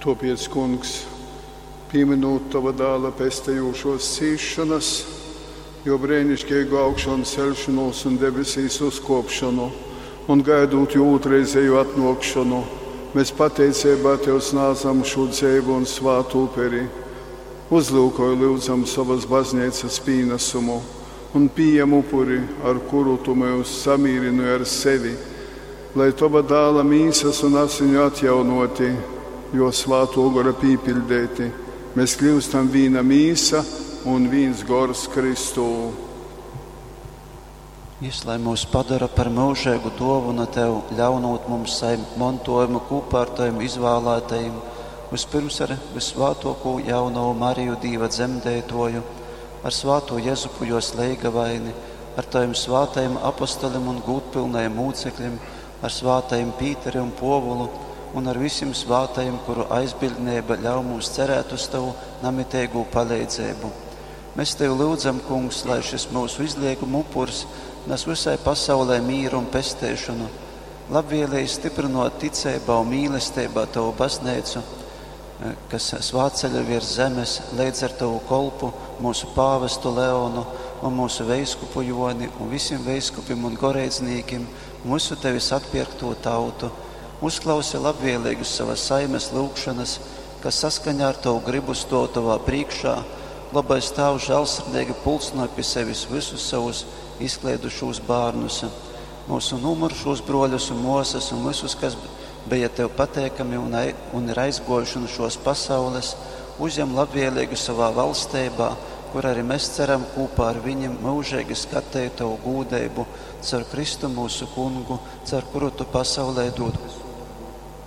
Tōpēc, Kungs, pīmynūt Tova Dāla pestejūšōs cīsšonas, Jō breiniškeigu augšanceļšonūs un debesīs uzkōpšonu un gaidūt Jō ūtrreizeju atnōkšonu, mes pateiceibā Tev snādzam šū dzeivu un svātu uperi. Uzlyukoj, lyudzam, sovas Bazneicas pīnasumu un pījem upuri, ar kuru Tu myus samīrynoj ar sevi, lai, Tova Dāla mīsas un asiņu atjaunōti, Jō Svātō Gora pīpiļdeiti, mes kļyustam vīna mīsa un vīns gors Kristū. Jys lai myus padora par myužeigu dōvonu Tev, ļaunūt mums sajimt montōjumu kūpā ar Tovim izvālātajim, vyspyrms ar vyssvātōkū jaunovu Mariju Dīva dzemdeitōju, ar svātū Jezupu jōs leigavaini, ar Tovim svātajim apostolim un gūdpylnajim mūcekļim, ar svātajim Pīteri un Pōvulu un ar visim svātajim, kuru aizbiļdneiba ļauj mums cerēt uz Tovu namiteigū paleidzeibu. Mēs Tevi lyudzam, Kungs, lai šis myusu izlieguma upurs nes visai pasaulē mīru un pesteišonu. Labvēlīgi stiprinot ticeibā un mīlestībā Tavu baznīcu, kas svātceļo virs zemes, leidz ar Tavu kolpu, mūsu pāvestu Leonu un mūsu veiskupu Joni un visiem veiskupim un goreidznīkim un visu Tevis atpirkto tautu. Uzklausi labvēlīgus savas saimes lūgšanas, kas saskaņā ar Tavu gribu stāv Tavā priekšā. Labais Tēvs žēlsirdīgi pulcināja pie sevis visus savus izklaidušos bērnus, mūsu nomurušos broļus un māsas un visus, kas bija Tev pateikami un, un ir aizgojuši no šos pasaules, uzņem labvēlīgu savā valstībā, kur arī mēs ceram kopā ar viņiem mūžīgi skatīt Tavu gūdību, caur Kristu mūsu kungu, caur kuru Tu pasaulē dod visu.